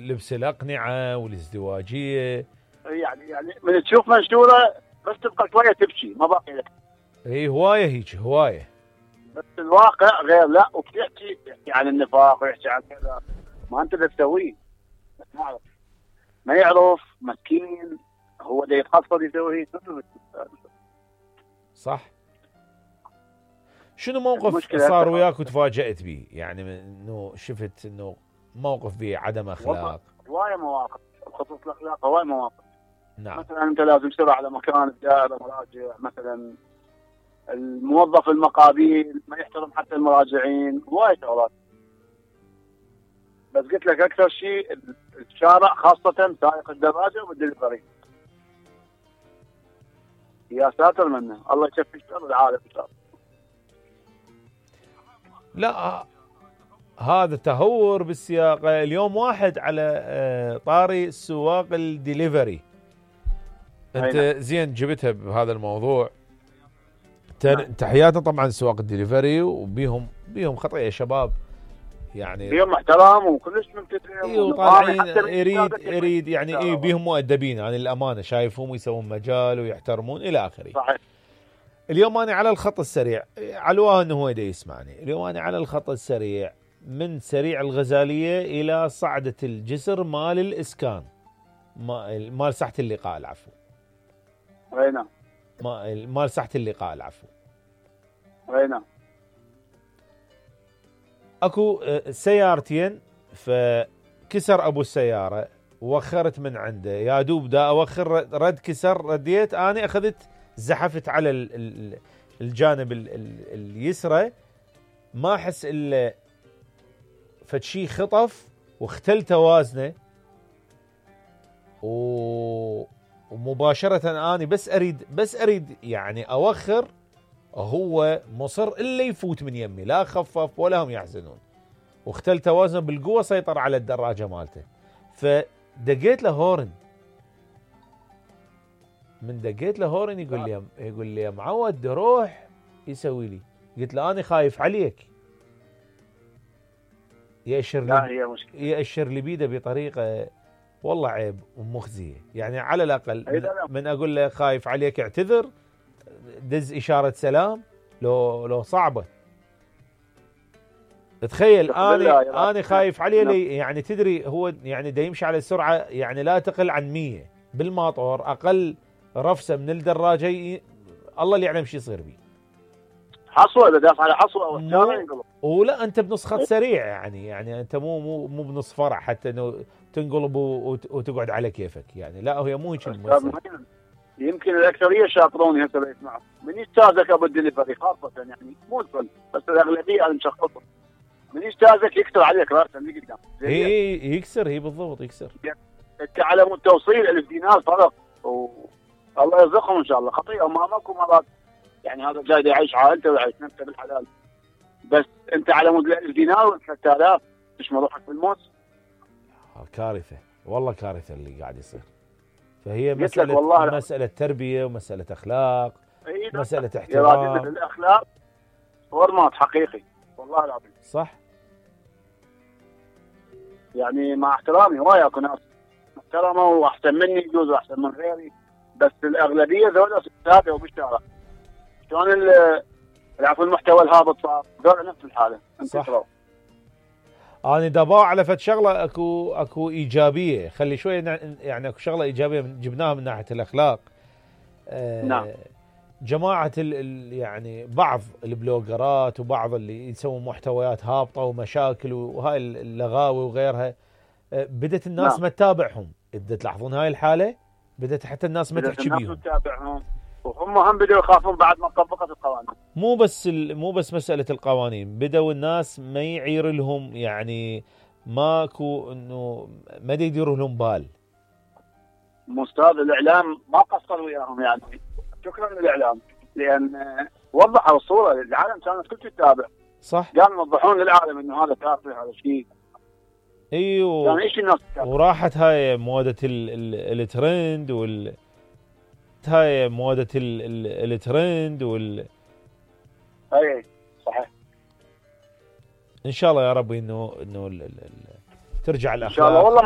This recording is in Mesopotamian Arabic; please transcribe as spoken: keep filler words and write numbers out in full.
لبس الاقنعه والازدواجيه. يعني يعني من تشوف منشوره بس تبقى شويه تبكي ما باقي لك. اي هوايه هيك هوايه. بس الواقع غير، لا وبتحكي يحكي عن النفاق ويحكي عن كذا، ما انت اللي تسويه. ما يعرف ما يعرف مسكين، هو اللي يتخصص يسوي. صح. شنو موقف صار وياك وتفاجأت به؟ يعني انه شفت انه موقف به عدم اخلاق. هوايه مواقف بخصوص الاخلاق، هوايه مواقف. نعم. مثلا انت لازم تسير على مكان الدائره مراجع، مثلا الموظف المقابيل ما يحترم حتى المراجعين، هوايه شغلات. بس قلت لك اكثر شيء الشارع، خاصه سائق الدراجه والدليفري. يا ساتر منه، الله يشفي شر العالم ان شاء الله. لا هذا تهور بالسياقه. اليوم واحد على طاري سواق الدليفري، انت زين جبتها بهذا الموضوع. تحياتنا طبعا سواق الدليفري، وبيهم بيهم خطيه شباب، يعني بيهم احترام وكلش ممتازين. ايوه طالعين يريد يريد يعني اي بيهم مؤدبين، يعني الامانه شايفهم يسوون مجال ويحترمون الى اخره. صحيح. اليوم انا على الخط السريع، علواه انه هو يسمعني. اليوم انا على الخط السريع من سريع الغزاليه الى صعده الجسر مال الاسكان، مال ساحه اللقاء العفو. اي نعم. مال ساحه اللقاء العفو. اي نعم. اكو سيارتين، فكسر ابو السياره وخرت من عنده، يا دوب دا اوخر رد كسر، رديت انا اخذت زحفت على الجانب اليسرى، ما احس الا فشي خطف واختل توازنه، ومباشره اني بس اريد بس اريد يعني اوخر، هو مصر الا يفوت من يمي، لا خفف ولا هم يحزنون، واختل توازنه بالقوه، سيطر على الدراجه مالته. فدقيت له هورن، من دقيت له هورن يقول لي يقول لي يا معود روح يسوي لي. قلت له انا خايف عليك. يأشر لي يأشر لي بيده بطريقه والله عيب ومخزيه. يعني على الاقل من اقول له خايف عليك اعتذر، دز اشاره سلام، لو لو صعبه. تخيل انا انا خايف عليه لي، يعني تدري هو يعني دا يمشي على سرعه يعني لا تقل عن مية بالماطور، اقل رفسه من الدراجه ي... الله اللي يعلم شو يصير بيه. حصوه اذا داف على حصوه ينقلب. ولا انت بنص خط سريع، يعني يعني انت مو مو مو بنص فرع حتى انه تنقلب وتقعد على كيفك، يعني لا هي مو هيك المسألة. يمكن الاكثريه شاطرون هسه يسمعوا من يستاذك ابو الدليفري خاصه، يعني مو الكل بس الاغلبيه المشخصه من يستاذك يكسر عليك راسا اللي قدام. اي يكسر، هي بالضبط يكسر. انت على مود توصيل الف دينار فرق، والله يرزقهم ان شاء الله. خطيئه امامك ومرات يعني هذا جاي يعيش عائلته ويعيش نفسه بالحلال، بس انت على مود الف دينار و3000 آلاف تشمل روحك بالموت. كارثه والله، كارثه اللي قاعد يصير. فهي مساله مساله تربيه ومساله اخلاق، مساله احترام. الاخلاق فورمات حقيقي والله العظيم. صح. يعني مع احترامي هواي اكو ناس محترمه واحسن مني يجوز واحسن من غيري، بس الاغلبيه ذولا ساده وبالشارع. شلون العفو المحتوى الهابط صار ذولا نفس الحاله. صح. انا دباع على فد شغله اكو اكو ايجابيه، خلي شويه يعني اكو شغله ايجابيه جبناها من ناحيه الاخلاق. آه نعم. جماعه ال ال يعني بعض البلوجرات وبعض اللي يسوون محتويات هابطه ومشاكل وهاي اللغاوي وغيرها، آه بدت الناس نعم. ما تتابعهم. بدأت تلاحظون هاي الحاله، بدت حتى الناس ما تحكي بيهم، تتابعهم، وهم هم بدأوا يخافون بعد ما طبقت القوانين. مو بس مو بس مساله القوانين، بدأوا الناس ما يعير لهم، يعني ماكو انه ما يديروا لهم بال. مستاذ الاعلام ما قصر وياهم، يعني شكرا للاعلام لان وضحوا الصوره للعالم، كانت كل تتابع. صح. قاموا يوضحون للعالم انه هذا تافه، هذا شيء. ايوه. يعني ايش الناس تتابع. وراحت هاي موضه الترند وال هاي موضه الترند وال اي صحيح. ان شاء الله يا ربي انه انه ترجع الاخلاق ان شاء الله والله.